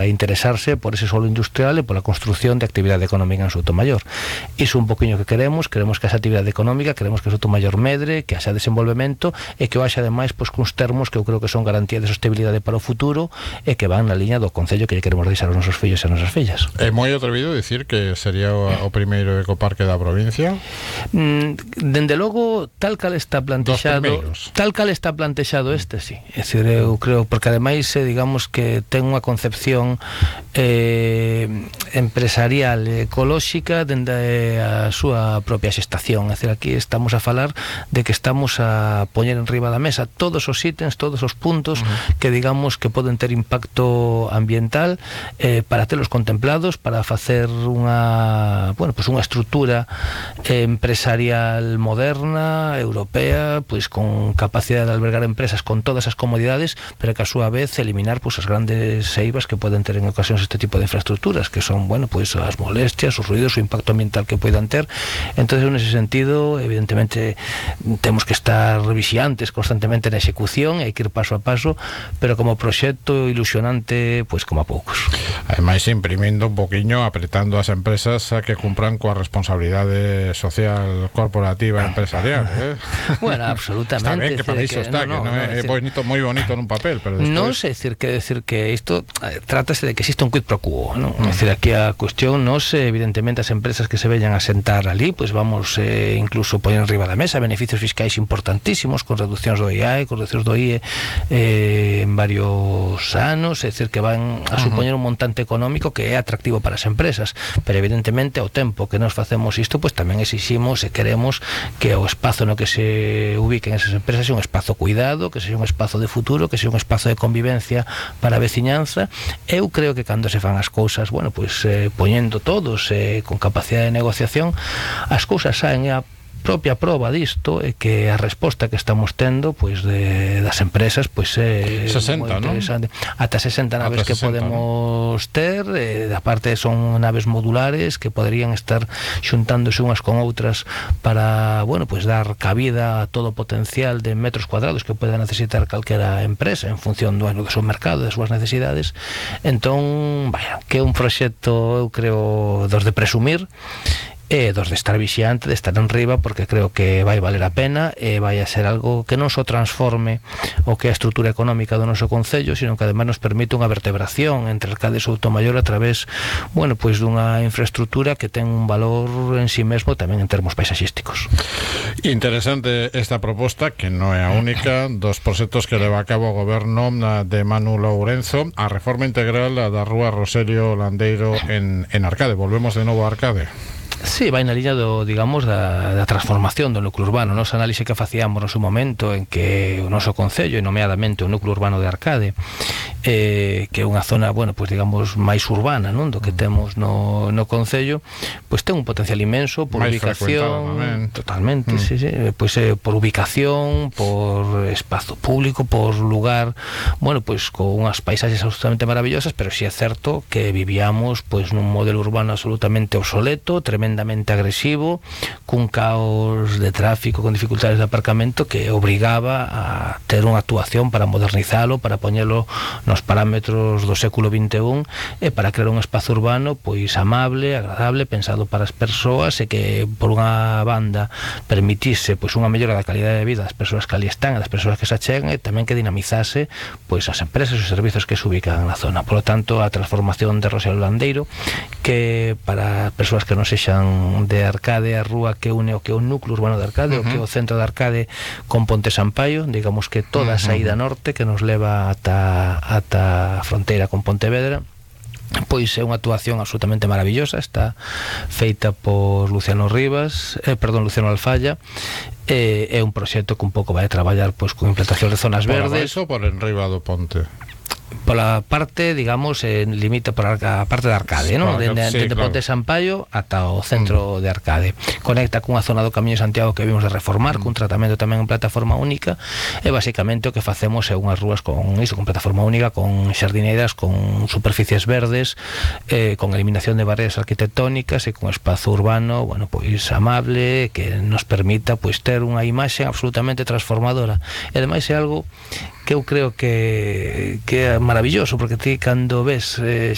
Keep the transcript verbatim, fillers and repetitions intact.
a interesarse por ese solo industrial e pola construción de actividade económica en Soutomaior. Iso un poquinho que queremos, queremos que esa actividade económica, queremos que Soutomaior medre, que haxa desenvolvemento e que o haxa ademais pois cuns termos que eu creo que son garantía de sostenibilidade para o futuro e que van na liña do concello que lle queremos deixar aos nosos fillos e as nosas fillas. É moi atrevido dicir que sería o, o primeiro ecoparque da provincia? Mm, dende logo, tal cal está plantexado, tal cal está plantexado este, sí. É dicir, eu creo, porque ademais, eh, digamos que ten unha concepción eh, empresarial ecolóxica dende a súa propia xestación. É dicir, aquí estamos a falar de que estamos a poñer en riba da mesa todos os ítems, todos os puntos uh-huh. que digamos que poden ter impacto ambiental eh, para telos contemplados, para facer unha, bueno, pues unha estrutura eh, empresarial moderna, europea, pois con capacidade de albergar empresas con todas as comodidades, pero que a súa vez eliminar pois as grandes seivas que poden ter en ocasións este tipo de infraestructuras, que son, bueno, pois as molestias, os ruidos, o impacto ambiental que poidan ter. Entonces, en ese sentido, evidentemente temos que estar vixiantes constantemente na execución, hai que ir paso a paso, pero como proxecto ilusionante, pois como a poucos. Ademais, imprimindo un poquinho, apretando as empresas a que cumpran coa responsabilidade social corporativa empresarial, eh? Bueno, absolutamente. Está ben que para iso está, no, que non no, é, é bonito, moi bonito nun papel, pero despois... Non sei decir que decir que isto eh, trátase de que existe un quid pro quo, ¿no? Mm. É dicir, aquí a cuestión non se, evidentemente, as empresas que se veñan a sentar ali, pois pues vamos eh, incluso poñer enriba da mesa beneficios fiscais importantísimos, con reduccións do I A E, con reduccións do I E eh, en varios anos, é dicir, que van a supoñer un montante económico que é atractivo para as empresas, pero evidentemente ao tempo que nos facemos isto, pois pues tamén exiximos e queremos que o espazo no que se ubiquen esas empresas sea un espazo cuidado, que sea un espazo de futuro, que sea un espazo de convivencia para a veciñanza. Eu creo que cando se fan as cousas, bueno, pois eh, poñendo todos eh, con capacidade de negociación, as cousas saen e a propia proba disto é que a resposta que estamos tendo pois de, das empresas pois é sesenta, non? Ata sesenta naves que sesenta, podemos ¿no? ter, eh, da parte son naves modulares que poderían estar xuntándose unhas con outras para, bueno, pois dar cabida a todo o potencial de metros cuadrados que poida necesitar calquera empresa en función do, do seu mercado, das súas necesidades. Entón, vaya, que é un proxecto, eu creo, dos de presumir, e dos de estar vixiante, de estar en riba, porque creo que vai valer a pena e vai a ser algo que non só transforme o que é a estrutura económica do noso concello, sino que ademais nos permite unha vertebración entre Arcade e Soutomaior a través, bueno, pois dunha infraestructura que ten un valor en sí mesmo tamén en termos paisaxísticos. Interesante esta proposta, que non é a única, dos proxectos que leva a cabo o goberno de Manu Lourenzo, a reforma integral da rúa Rosario Landeiro en, en Arcade. Volvemos de novo a Arcade. Sí, vai na liña do, digamos, da, da transformación do núcleo urbano. Nos análise que facíamos no seu momento en que o noso concello, e nomeadamente o núcleo urbano de Arcade, eh, que é unha zona, bueno, pues digamos, máis urbana, non, do que temos no, no concello, pois pues ten un potencial inmenso por máis ubicación, totalmente, mm. sí, sí, pois pues, eh, por ubicación, por espazo público, por lugar, bueno, pois pues, con unhas paisaxes absolutamente maravillosas, pero si sí é certo que vivíamos pois pues, nun modelo urbano absolutamente obsoleto, tremendo agresivo, cun caos de tráfico, con dificultades de aparcamento que obrigaba a ter unha actuación para modernizalo, para poñelo nos parámetros do século vinte e un e para crear un espazo urbano pois amable, agradable, pensado para as persoas e que por unha banda permitise pois unha mellora da calidade de vida das persoas que ali están e das persoas que se achegan e tamén que dinamizase pois as empresas e os servizos que se ubican na zona. Por lo tanto, a transformación de Rosario Landeiro, que para persoas que non sexan de Arcade, a rúa que une o que é o núcleo urbano de Arcade, uh-huh. o que é o centro de Arcade con Ponte Sampaio, digamos que toda a saída norte que nos leva ata, ata a fronteira con Pontevedra, pois é unha actuación absolutamente maravillosa, está feita por Luciano Rivas, eh, perdón, Luciano Alfalla, eh, é un proxecto que un pouco vai a traballar pois con implantación de zonas por verdes. Por abaixo ou por enriba do ponte? Pola parte, digamos, eh, limita por a parte de Arcade, ¿no? Claro, Dende sí, de claro. Ponte Sampaio ata o centro mm. de Arcade. Conecta cunha zona do Camiño de Santiago que vimos de reformar, mm. cun tratamento tamén en plataforma única, e basicamente o que facemos é unhas rúas con iso, con plataforma única, con xardineiras, con superficies verdes, eh, con eliminación de barreras arquitectónicas e con espazo urbano, bueno, pois amable, que nos permita pois ter unha imaxe absolutamente transformadora. E ademais é algo que eu creo que, que é maravilloso, porque ti cando ves eh,